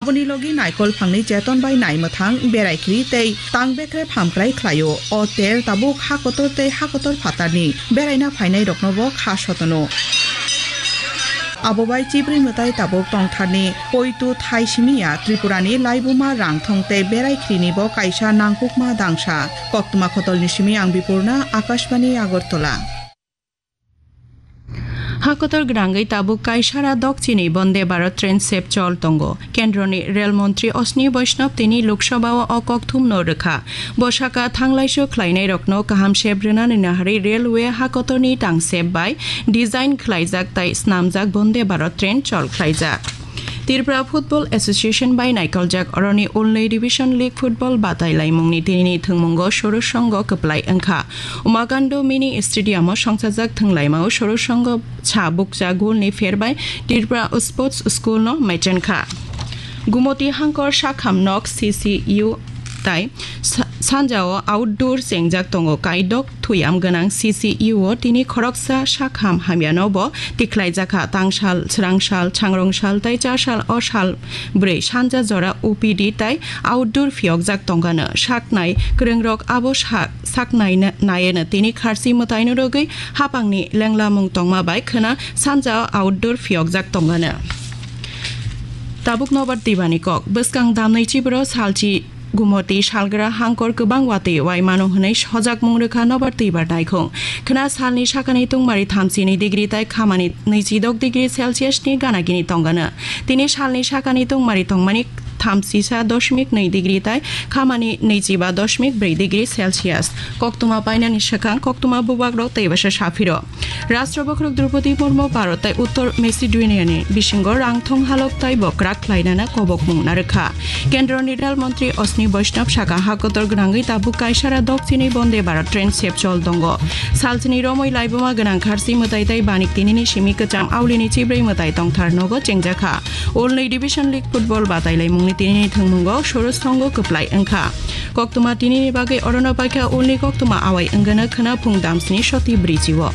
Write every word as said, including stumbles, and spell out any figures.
Oni logi naikol phangni cheton bai nai mwthang berai khri tei tang bekre phamkrai khlaio. O ter tabuk hakotor tei hakotor phatarni beraina phainai rokno bo kha sotono. Abo bai chibrwi mwtai tabuk tongtharni poitu thai simiya Tripurani laibuma rangthong tei berai khrini bo kaisa nangkukma dangsa. Koktwma khotolni simi ang Bipurna, Akashbani Agartala. Hakotor gwnangwi tabuk kaisara dokchini Bonde Bharat train sep chol tongo. Kendroni rel montri Ashwini Vaishnaw tini Lok Sabha-o o kokthumno rwkha. Bo saka thanglaisu khlainairokno kaham sep rwnani naharwi railway hakotorni tangsep bai design khlaijak tai snamjak Bonde Bharat train chol khlaijak. Tripura Football Association bai naikoljak oroni Olnwi Revision League football batai laimungni tinini thwngmungo Sorosango kwplai wngkha. Umakando Mini Stadium-o songchajak thwnglaimao Sorosango cha bukcha golni pher bai Tripura Sports School-no maichenkha. Gumoti Hangkor Sakham Nok C C U tai sa-, sanjao outdoor chengjak tongo. Kaidok thuyam gwnang C C U-o tini khoroksa sakham hamyano bo tikhlaijakha. Tangsal, swrangsal, changrongsal tai chasal o sal bwrwi sanja jora O P D tai outdoor phiyokjak tongkano. Saknai kwrwngrok abo sa-, saknai na-, naieno tini kharchi mwtaino rwgwi hapangni lenglamung tongma bai khwna sanja outdoor phiyokjak tongkano. Tabuk nobar twibani kok. Bwskang damnai chibro salchi Gumoti salgra hangkor kwbang watwi wai mano hwnwi sojakmung rwkha nobar twibar naikhung. Khwna salni sakani tungmari thamchi ni degree tai khamani nwichidok degree Celsius ni ganagini tongano. Tini salni sakani tungmari tongmani thamchisa dosmik nwi degree tai khamani nwichiba dosmik brwi degree Celsius. Koktwma painani swkang koktwma bubagrok tei bwsa saphiro. Rashtra bokhorok Draupadi Murmu Bharat tai Uttor Macedonia ni bisingo rangthong halok tai bo kwrak khlainana kobokmung narwkha. Kendroni rel montri Ashwini Vaishnaw saka hakotor gwnangwi tabuk kaisara dokchini Bonde Bharat train sep chol tongo. Salchini romwi laibuma gwnang kharchi mwtai tai banik tinini simi kwcham aulini chibrwi mwtai tongthar nogo chengjakha. Olnwi Division League football batai laimungni tinini thwngmungo Sorosango kwplai wngkha. Koktwma tinini bagwi orono paikha Olnwi koktwma awai wngano khwna phung damsni soti brichio.